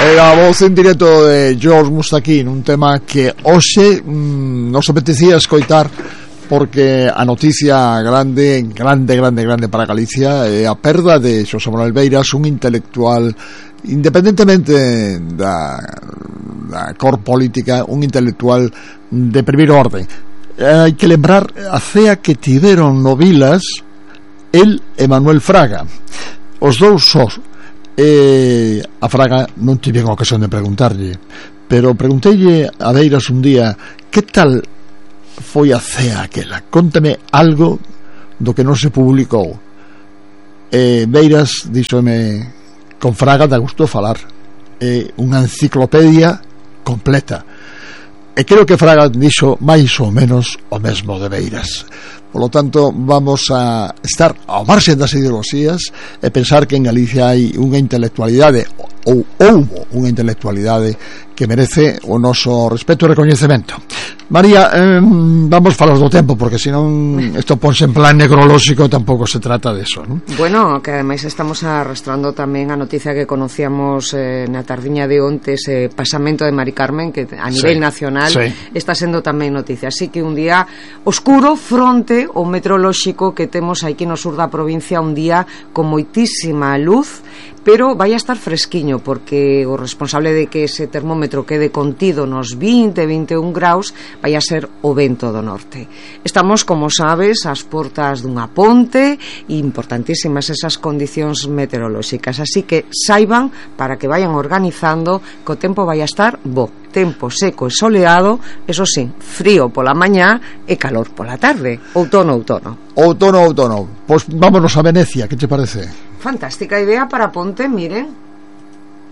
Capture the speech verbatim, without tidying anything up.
Era a voz en directo de George Mustaquín, un tema que hoxe mmm, nos apetecía escoitar porque a noticia grande, grande, grande, grande para Galicia é a perda de Xosé Manuel Beiras, un intelectual, independentemente da, da cor política, un intelectual de primeiro orden. Hai que lembrar a cea que tiveron no Vilas el e Manuel Fraga, os dous sós. E a Fraga non tive a ocasión de preguntarlle, pero pregunteille a Beiras un día: que tal foi a cea aquela? Contame algo do que non se publicou. E Beiras díxome: con Fraga dá gusto falar, é unha enciclopedia completa. E creo que Fraga dixo máis ou menos o mesmo de Beiras. Por lo tanto, vamos a estar ao marxe das ideoloxías e pensar que en Galicia hai unha intelectualidade, ou houbo unha intelectualidade que merece o noso respeto e recoñecemento. María, eh, vamos falar do tempo, porque senón isto ponse en plan necrolóxico, tampouco se trata de eso, ¿no? Bueno, que ademais estamos arrastrando tamén a noticia que conocíamos eh, na tardiña de onte, ese pasamento de Mari Carmen, que a nivel sí, nacional sí. está sendo tamén noticia. Así que un día oscuro fronte o meteorolóxico que temos aquí no sur da provincia, un día con moitísima luz, pero vai a estar fresquiño, porque o responsable de que ese termómetro quede contido nos vinte, vinte e un graus vai a ser o vento do norte. Estamos, como sabes, ás portas dunha ponte, importantísimas esas condicións meteorolóxicas, así que saiban, para que vayan organizando, que o tempo vai a estar bo, tempo seco e soleado, eso sí, frío pola mañá e calor pola tarde, outono, outono. Outono, outono. Pois vámonos a Venecia, que te parece? Fantástica idea para ponte, miren.